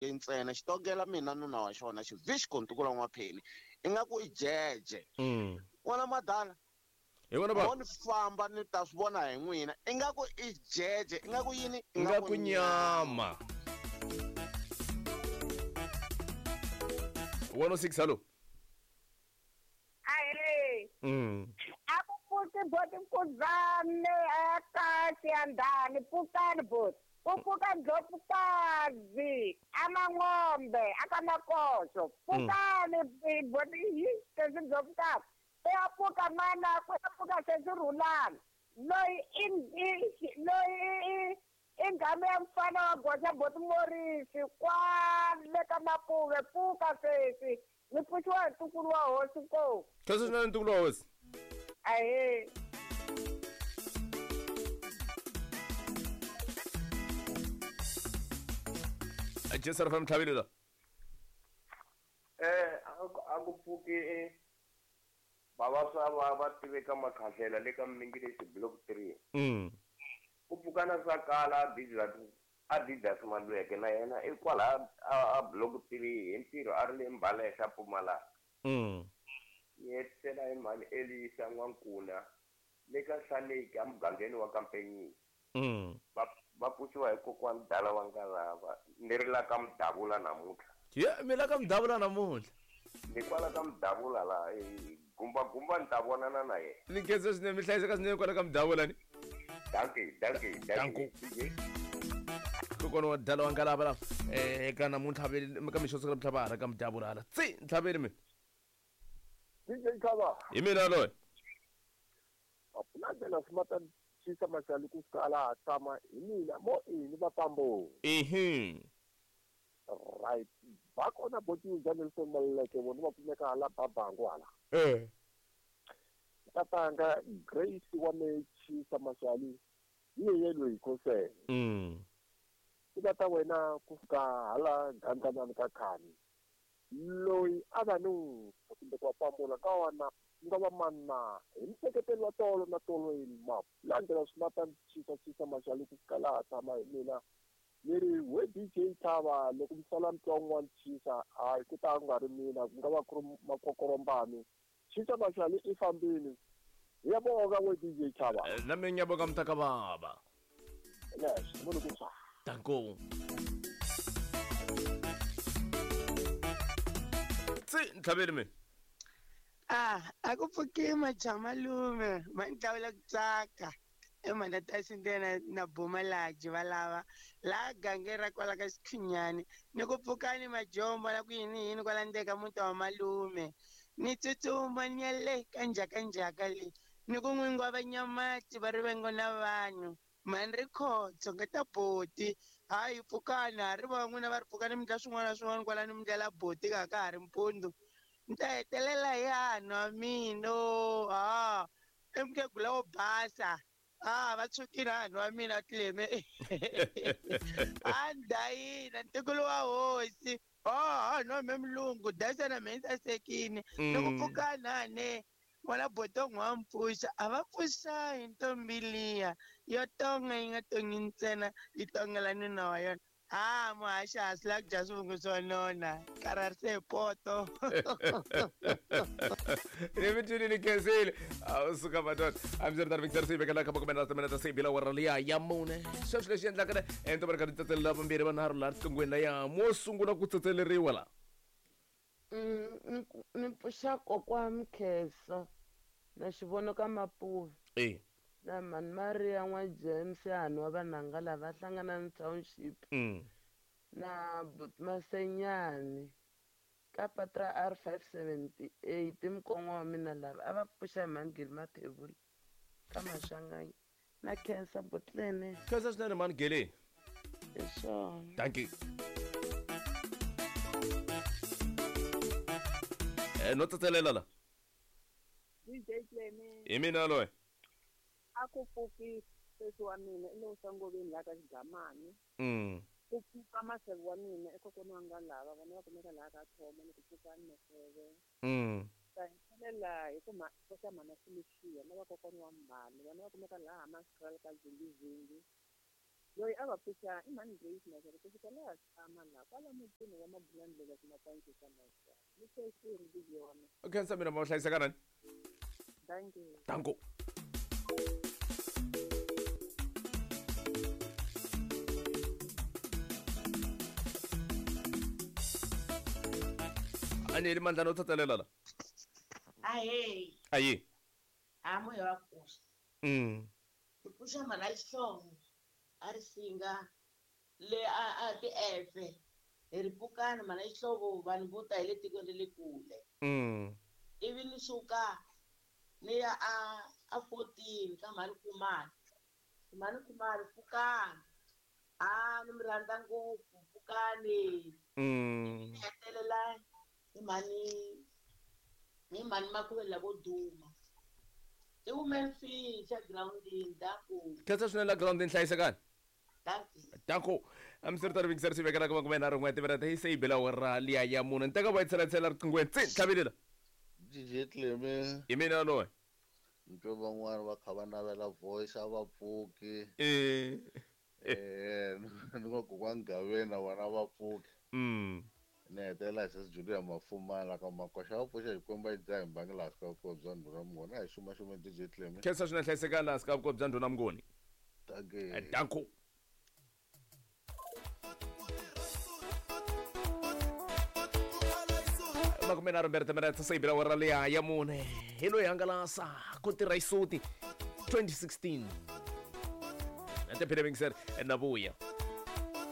Bloemfontein ntsena xi tongela mina nuna wa xona xivixko ntukulu wa n'wapheni ingaku i jeje. N'wana madala Hi vona ba mo ni famba ni ta swi vona hi n'wina ingaku i jeje ingaku yini ingaku nyama. 106 hallo. Ahee. A ku pfuki boti Mfukuzane eka Xiyandhani pfukani boti. Ku pfuka Ndlopfukazi a Mangombe a ka Makoxo. Pfukani boti hi sesi Ndlopfukazi. Ku ya pfuka mana ku ya pfuka sesi Rhulani. Loyi i i loyi i i nghamu ya mfana wa goxa boti Morisi kwale ka Mapuve pfuka sesi. Ni pfuxiwa hi ntukulu wa hosi ko. Khensa swinene ntukulu wa hosi. Ahee. Jesu ri famba tlhavile la. A ku pfuki bava swa va va tiveka makhahlela le ka Mningileshi block 3. Ku pfuka na swa kala Adidas Malweke na yena i kwala a block 3 hi ntirho a ri le Mbalehla Mpumalanga. Ni hetisela hi mhani Elisa N'wankuna le ka Hlaleki emugangeni wa Kampenyisi. Va pfuxiwa hi kokwani Dala wa Ngalava ni ri la ka Mudavula namuntlha. Ye mi la ka Mudavula namuntlha. Ni kwala ka Mudavula la gumba gumba ni ta vonana na yena. Ni khensa swinene mi hlayiseka swinene kwala ka Mudavula ni. Dankie, dankie, dankie. Dankie. Kokwana wa Dala wa Ngalava la eka namuntlha ka mixo siku la va ha ri ka Mudavula hala. Tsi ntlhaveni mina. DJ Khava. Hi mina loyi. A ku na ndlela swi mata xisa maxali ku fika laha tshama hi mina mo ini va pambo. Ehe. Right. Va kona boti bya Nelson Maluleke vona va kumeka hala Babangu hala. Tatanga Grace wa Mechisa Maxali hi yeye loyi khosele. Ku va ta wena ku fika hala Gandlanani ka Khani. Loyi a va ni kumbe ku va pambula ka wana nga va manna hi mseketelo wa tolo na tolo hi map landzela swi mata chisa chisa Maxali ku fika laha tshama hi mina ni ri we DJ Thaba loko mi sala mi twa un'wana chisa hayi ku ta nga ri mina ku nga va ku ri makokorombani chisa Maxali i fambini hi ya bonga we DJ Thaba. Na mina ngiyabonga mntaka baba. Yes, munhu ku swa. Danko. Tsi ntlhaveni mina. A ku pfuki majamalume ma ntlawula ku tsaka emhana ta xindena na Bumalaji va lava laha gange ra kwala ka Xikhunyani ni ku pfukani majombo la ku yini yini kwala ndzeni ka muti wa malume ni tsutsuma ni ya le ka njhakanjhaka le ni ku n'wingi wa vanyamati va rivengo na vanhu mhani ri khotso nga ta boti hayi pfukani ha ri va n'wina va ri pfukani mi ndla swin'wana na swin'wana kwalani mi ndlela boti ka ka ha ri mpundzu ni ta hetelela hi hanwa mino ha i mukhegula wo basa va tshukile hanhu wa mina Tleme a ndayina ntukulu wa hosi hanhu wa me mulungu dayisa na me sasekini loko pfukani hane n'wana botongo wa mpfuxa a va pfuxa hi ntombi liya yo tonga yi nga tongi ntsena yi tongela nuna wa yona. Muhaxa a swi lavi ku dya swivungu swo nona karharise hi poto. Ni mi twile ni khensile a suka madoda a mi ri Victor Sibe ka ka makume na timinete se bila wara liya ya mune sweswi leswi endlaka ne ento va ri karhi tsetselela vambirhi vanharhu laha riqinghweni la ya mo sungula ku tsetseleriwa la. Ni pfuxa kokwa Mkheso na xivono ka Mapuve. Na mhani Maria n'wa James hanhu wa vanhanga lava hlangana ni township. Na Masenyani ka patu ra R578 mukon'wa wa mina lava a va pfuxa hi mhani Gili Mathebula ka Maswanganyi na Khensa Botlene. Khensa swinene mhani Gili. Hi swona. Thank you. No tsetselela la. DJ Cleme. Hi mina loyi. A ku pfuki sesi wa mina i lo sangoveni la ka Xigamani. Ku pfuka maseve wa mina i kokwana wa nga lava vona va kumeka laha ka Thoma ni ku pfuka ni maseve. Ta hetelela hi ku pfuxa mhana Felicia na vakokwana wa mhani vona va kumeka laha Hammanskraal ka Zingizingi. Loyi a va pfuxa i mhani Grace Mazhere kusuka laha tshama laha kwala mutini wa Mabulandlela Ximapanci xa Maxa. Ni sweswi ri yona. Khensa mina ma hlayiseka nani? Dankie. Danko. Aneli mandlana u tsatselela la. Ahee. Ayi. A moya wa pfuxa. Ku pfuxa mhana xihlovo a ri singa le a ti efe hi ri pfukani mhana xihlovo vanhu vo ta hi le tikweni ra le kule. Ivi ni suka ni ya a 14 ka mhani Khumalo. Mhani Khumalo pfukani. A ni mi rhandza ngopfu pfukani. Ni hetelela hi mhani Makhuvele lavo duma. I women fish groundini danko. Khensa swinene la groundini hlayisekani. Danko. Amisiri vingiseri swi vekela ka makume nharhu n'we timinete yi se yi bela awara liya ya mune. Ni teka va yi tsela riqinghweni tsi tlhavelela. DJ Cleme. Hi mina loyi. Ni twe van'wani va kha va navela voice a va pfuki. Ni nga kokwani Gaveni na vona va pfuki. Ni hetelela hi sesi Julia Mafumala ka Makoxa va pfuxa Xikwembu a yi dzaha hi mbangi laha swi ka vukosi bya ndhuna Mnguni. A hi xumaxuma DJ Cleme. Khensa swinene hlayisekani laha swi ka vukosi bya ndhuna Mnguni. Dankie. Danko. Makume nharhu mbirhi timinete se yi bela awara liya ya mune. Hi loyi hangalasa ku tirha xisuti 2016. Na tiphina vingiseri na vuya.